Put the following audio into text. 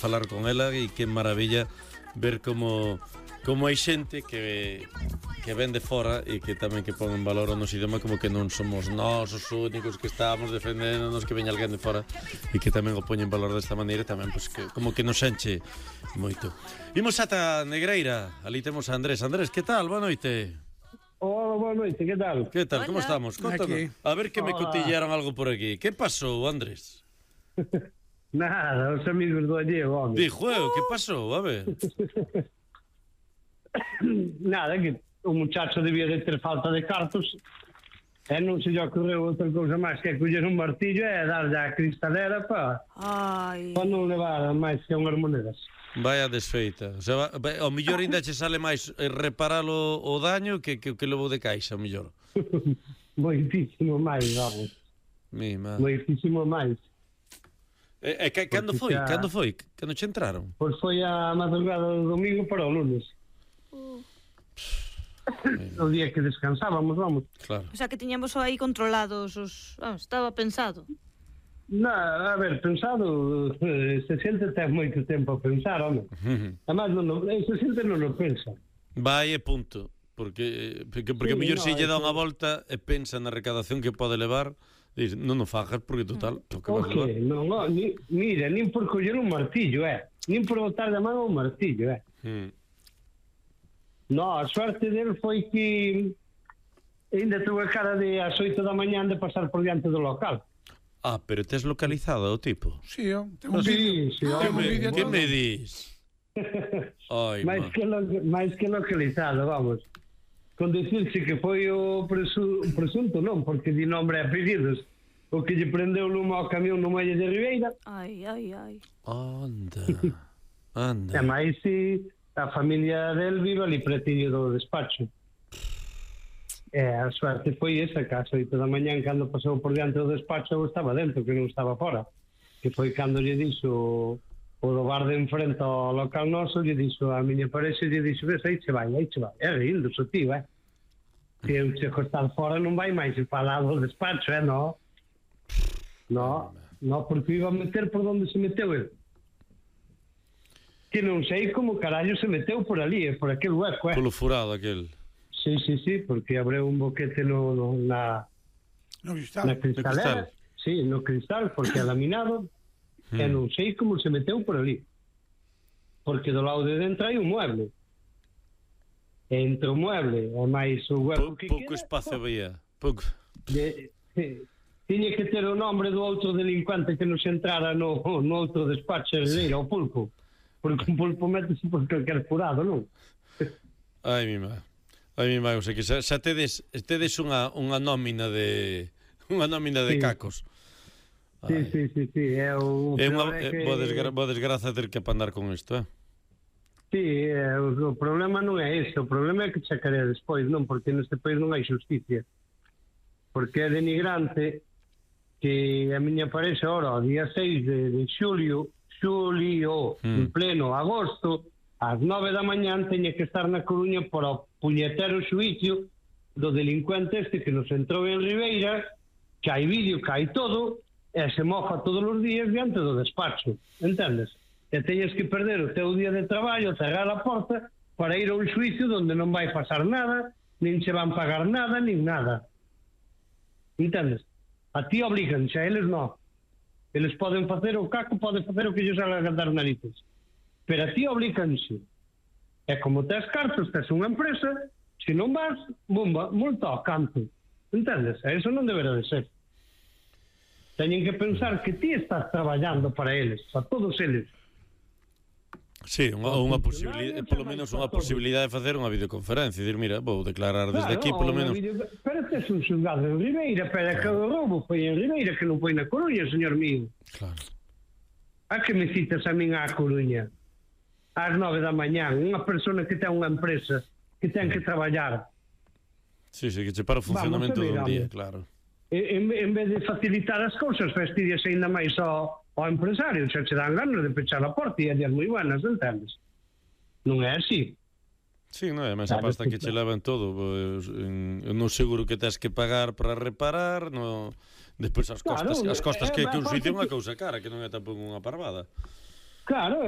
falar con ela e que maravilla ver como hai xente que ven de fora e que tamén que pon en valor o noso idioma, como que non somos nós os únicos que estamos defendéndonos, que veña alguén de fora e que tamén o poñen en valor desta maneira, tamén pues, que, como que nos enche moito. Imos ata Negreira, ali temos a Andrés. Andrés, que tal? Boa noite. Hola, boa noite, que tal? Que tal? Como estamos? Contanos. A ver que me cotillaron algo por aquí. Que pasou, Andrés? Nada, os amigos do Allego, home. Dijo, que pasou? A ver. Nada, que o muchacho debía de ter falta de cartos e non se lle ocorreu outra cousa máis que coller un martillo e darlle a cristalera para non levar máis que unhas monedas. Vaya desfeita. O sea, ao mellor ainda che sale máis reparar o daño que levo de caixa, ao mellor. Moitísimo máis, vamos. Moitísimo máis. Cando foi? Cando foi? Cando che entraron? Pois foi a madrugada do domingo para o lunes. O día que descansábamos, vamos. Claro. O sea, que tiñamos aí controlados os... estaba pensado. A ver, pensado, se xente ten moito tempo a pensar, home. Además, se xente non o pensa. Vai e punto. Porque mellor se lle dá unha volta e pensa na recadación que pode levar, diz, non o fajas porque total, o que vas levar. Mira, nin por coller un martillo, nin por botar de mano un martillo, No, a suerte del foi que ainda tuve cara de ás 8 da mañán de pasar por diante do local. Pero tes localizado o tipo? Sí, temos vídeo. Que me dis? máis que localizado, vamos. Con dicirse que foi o presunto, non, porque di nombre e apelidos, o que lle prendeu o lume ao camión no Muelle de Ribeira. Ai. Anda. E máis se a familia del vive ali pretiño do despacho. E a suerte foi esa, que ás 8 da mañán, cando pasou por diante do despacho, eu estaba dentro, que non estaba fora. Que foi cando lle dixo o do bar de enfrente ao local noso, lle dixo a miña parexa, lle dixo, ves, aí che vai. É rindo, so tío, Se eu che costar fora non vai máis para lá do despacho, no, porque iba a meter por onde se meteu ele. Que non sei como carallo se meteu por ali, por aquel hueco, Polo furado aquel. Sí, porque abriu un boquete na cristalera. Sí, no cristal, porque é laminado, e non sei como se meteu por ali. Porque do lado de dentro hai un mueble. E entre o mueble e máis o hueco que pouco espacio había. Pouco. Tiña que ter o nombre do outro delincuente que nos entrara no outro despacho herdeiro, o pulpo. Porque un pulpo métese por calquer furado, non? Ai, mi má, o sea que xa tedes unha nómina de cacos. Sí, é boa desgraza ter que apandar con isto, Sí, o problema non é ese, o problema é que chacarea despois, non, porque neste país non hai xusticia. Porque é denigrante que a miña parexa ahora, o día 6 de xulio, en pleno agosto, ás 9 da mañán teña que estar na Coruña por o puñetero xuicio do delincuente este que nos entrou en Ribeira, que hai vídeo, que hai todo, e se mofa todos os días diante do despacho, entendes? E teñes que perder o teu día de traballo, cerrar a porta, para ir a un xuicio onde non vai pasar nada, nin se van pagar nada, nin nada. Entendes? A ti obliganse, a eles non. Eles poden facer o caco, poden facer o que ellos hagan a dar narices. Pero a ti obliganse. E como tes cartos, tes unha empresa, se non vas, bomba, multa ao canto. Entendes? E iso non deberá de ser. Teñen que pensar que ti estás traballando para eles, para todos eles. Sí, unha posibilidade, polo menos unha posibilidade de facer unha videoconferencia e dir, mira, vou declarar desde aquí, polo menos. Pero tes un xulgado en Ribeira, pero que o roubo foi en Ribeira, que non foi na Coruña, señor mío. Claro. A que me citas a min á Coruña? Ás 9 da mañán, unha persona que ten unha empresa, que ten que traballar. Sí, que che para o funcionamento dun día, claro. En vez de facilitar as cousas, fastidias ainda máis ao empresario, xa che dan ganas de pechar a porta e a días moi buenas, entendes? Non é así. Sí, non é, mas a pasta que che levan todo, non seguro que tes que pagar para reparar, despois as costas que un sitio é unha cousa cara, que non é tampouco unha parvada. Claro,